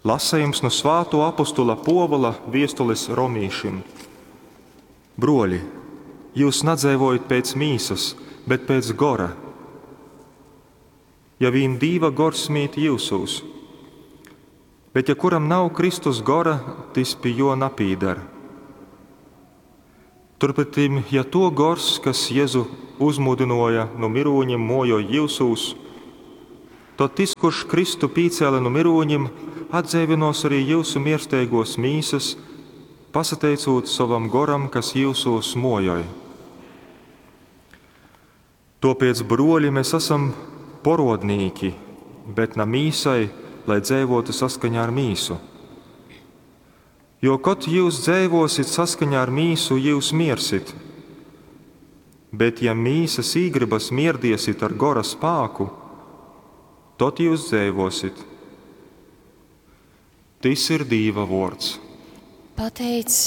Lasejums nu svātuo apostula Puovula viestulis romīšim. Bruoļi, jyus nadzeivojit pēc mīsas, bet pēc gora, ja vīn Dīva Gors mīt jyusūs. Bet ja kuram nav Kristus gora, tys pi juo napīdar. Turpretim, ja tuo gors, kas Jezu uzmūdynuoja nu mirūņim, muojoj jyusūs, tod tys, kurš Kristu pīcēle nu mirūņim, atdzeivynuos arī jyusu miersteiguos mīsas, pasateicūt sovam goram, kas jyusūs muojoj. Tuopiec, bruoļi, mes asam poruodnīki, bet na mīsai, lai dzeivuotu saskaņā ar mīsu. Jo, kod jyus dzeivuosit saskaņā ar mīsu, jyus miersit. Bet, ja mīsas īgrybas mierdiesit ar gora spāku, tod jyus dzeivuosit. Tys ir Dīva vuords. Pateic.